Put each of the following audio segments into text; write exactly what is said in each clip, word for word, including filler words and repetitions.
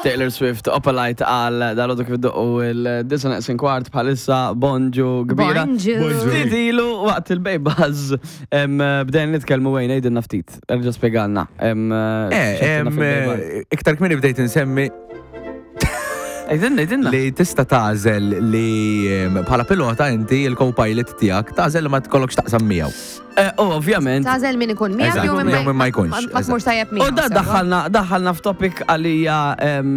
Taylor Swift, Opalite għal dal-għodu kif iddoqqu id-disgħa neqsin kwart bħalissa. Bonġu kbira. Bonġu. Ftit ilu waqt il-Bay Buzz em, bdejna nitkellmu wejn għidilna ftit. Erġa' spjegalna. Em, Eh, x'għedtilna em, fil-Bay Buzz. eh, iktar kmieni bdejt insemmi Għidilna, għidilna. li tista' tagħżel li em, bħala pilota inti il-co-pilot tiegħek tagħżel li ma tkollokx taqsam miegħu. Eh, U ovvjament. Tagħżel min ikun miegħek Eżatt, jew min jew min ma jkunx, Ma ma tmurx tajjeb miegħu. U da sewwa. daħħalna daħħalna f'topic għalija em,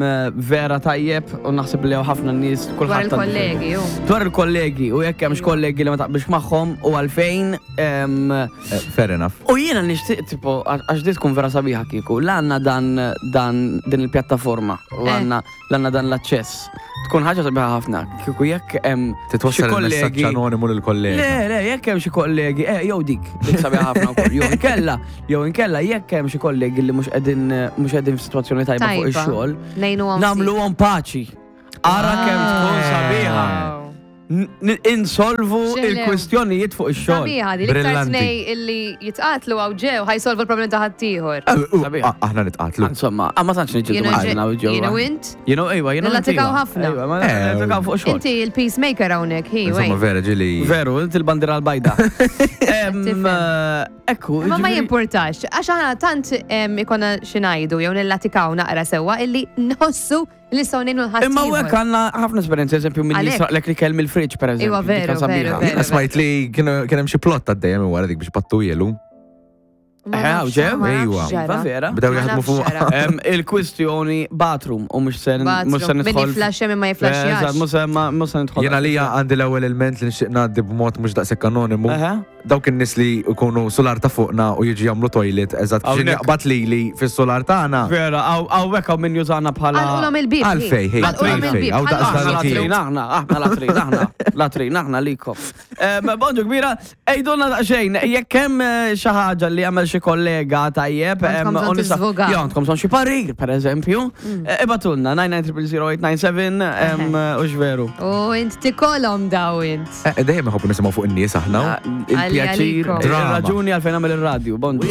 vera tajjeb u naħseb li hawn ħafna nies Dwar kulħadd għandu il-kollegi, ju. Dwar il-kollegi u jekk hemmx kollegi li ma taqbilx magħhom u għalfejn em, Eh, Fair enough. U jiena nixtieq tipo għax di tkun vera sabiħa kieku, l għandna dan dan din il-pjattaforma u Eh. għandna l-għandna dan l-aċċess. Tkun ħaġa sabiħa ħafna. Kieku jekk hemm xi Titwassal il-messaġġ kollegi anonimu lill-kollega. Le, le, jekk hemm xi kollegi, eh, jew dik, dik sabiħa ħafna wkoll. Jew inkella, jew inkella jekk hemm xi kollegi li mhux qegħdin mhux qegħdin f'sitwazzjoni tajba fuq Tajba. ix-xogħol, Ngħinuhom. nagħmluhom paċi. Ara kemm tkun sabiħa. N- n- Insolvu Xelew. il-kwistjonijiet fuq ix-xogħol. Sabiħa di l-iktar Brillanti. tnej illi jitqatlu għaw ġew ħa jsolvu l-problemi ta' ħaddieħor. Eh, u- Sabiħ. ah, Aħna nitqatlu. Insomma, ah, ma tantx niġġieldu Jiena maħna u ġewwa. jiena u int? You know, ejwa, jiena Nillatikaw ħafna. Ejwa, ma Eh, nillatikaw fuq xogħol. Inti il-peacemaker hawnhekk, hi, Insomma, wejn. vera ġili. Veru, inti l-bandira l-bajda. Em, Tifhem. eh, Ekku, Ma ma ġifieri- jimportax, għax aħna tant em, ikonna xi ngħidu jew nillatikaw naqra sewwa illi nħossu li nistgħu ngħinu l-ħadd. Imma u hekk għandna ħafna esperjenzi, eżempju, minn Għalhekk. jisraqlek li kell mill-fridge, per eżempju. Iwa, dik veru, sabiħa. veru, veru. Jiena smajt li kienu kien hemm xi plot għaddejja minn wara dik biex pattu jelu. Eh, hawn ġew? Ejwa. Iva, vera. Bdew jaħdmu fuq. Em, Il-kwistjoni bathroom u mhux se mhux se Min nidħol. jiflaxxa min ma Eh, Eżatt, jiflaxxjax. mhux se ma- mhux se nidħol. Jiena lija għandi l-ewwel element li nixtieq ngħaddi b'mod mhux daqshekk anonimu. Eħe. Dawk in-nies li jkunu solar ta' fuqna u jiġu jagħmlu toilet eżatt biex Hawnhekk. jaqbad lili fis-solar tagħna. Vera, hawnhekk hawn min jużana bħala. Għalqulhom il-bib. Għalfej, hej, Għalqulhom għalfej, il-bib. għaw daqs Aħna dan latrin, aħna, aħna latrin, aħna, latrin, aħna likom. Em, Bonġu kbira, għidulna daqsxejn, jekk hemm eh, xi ħaġa li għamel xi kollega tajjeb, em, Għandkom bżonn u nista' tiżvogaw. Jo, għandkom bżonn xi parir, per eżempju, eh, ibagħtulna nine nine zero zero eight nine seven, em, u x'veru. U int tikolhom daw int. Eh, Dejjem iħobbu nisimgħu fuq in-nies aħna. Il-pjaċir, Għalikom. il-raġuni għalfejn għamel il-radju, bonġu.